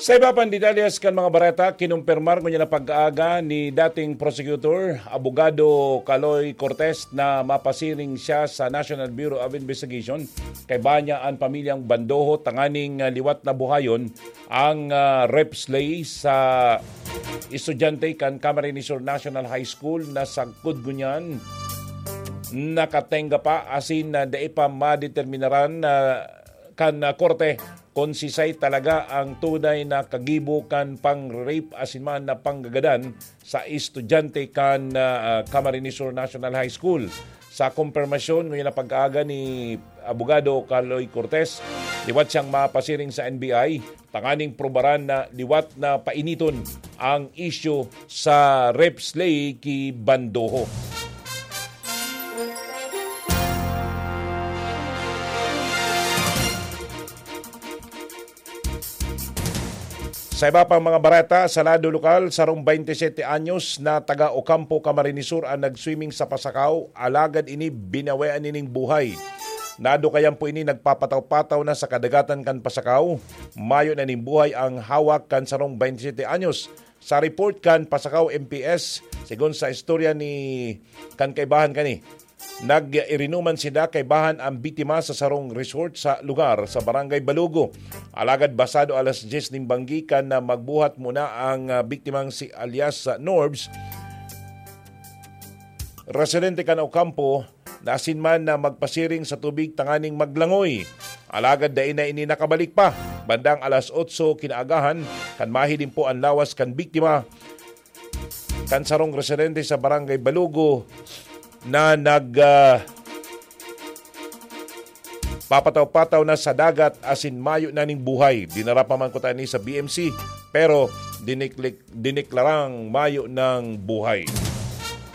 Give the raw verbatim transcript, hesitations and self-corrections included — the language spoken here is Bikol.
Sa iba pang detalyes kan mga bareta, kinumpirmar ngunyan na pag-aaga ni dating prosecutor, Abogado Kaloy Cortez, na mapasiring siya sa National Bureau of Investigation. Kaiba niya an pamilyang Bandoho tanganing, ah, liwat na buhayon ang, ah, rape slay sa estudyante kan Camarines Sur National High School na sagkod ngunyan nakatenga pa asin na dai pa madeterminaran na kan, ah, korte kung sisay talaga ang tunay na kagibo kan pang-rape asin man na panggagadan sa estudyante kan, ah, ah, Camarines Sur National High School. Sa kumpirmasyon ngunyan na pag-aaga ni Abogado Kaloy Cortez, liwat siyang mapasiring sa N B I tanganing probaran na liwat na painiton ang isyu sa rape slay ki Bandoho. Sa iba pang mga bareta, sa lado lokal, sarong twenty-seven anyos na taga Ocampo, Camarines Sur an nag-swimming sa Pasacao, alagad ini binawean nining buhay. Nadukayan po ini nagpapataw-pataw na sa kadagatan kan Pasacao. Mayo na ning buhay ang hawak kan sarong twenty-seven anyos. Sa report kan Pasacao M P S, segun sa istorya ni kan kaibahan kani, nag-irinuman sinda kaibahan ang biktima sa sarong resort sa lugar sa Barangay Balugo. Alagad basado alas diyes ning banggi kan na magbuhat muna ang, ah, biktimang si alias, ah, Norbs, residente kan Ocampo, na asin man na magpasiring sa tubig tanganing maglangoy. Alagad dai na ini nakabalik pa. Bandang alas otso kinaagahan, kan mahiling po an lawas kan biktima, kan sarong residente sa Barangay Balugo na nag, ah, papataw-pataw na sa dagat asin mayo na ning buhay. Dinara pa man kuta ini sa B M C, pero diniklik-, diniklarang mayo ng buhay.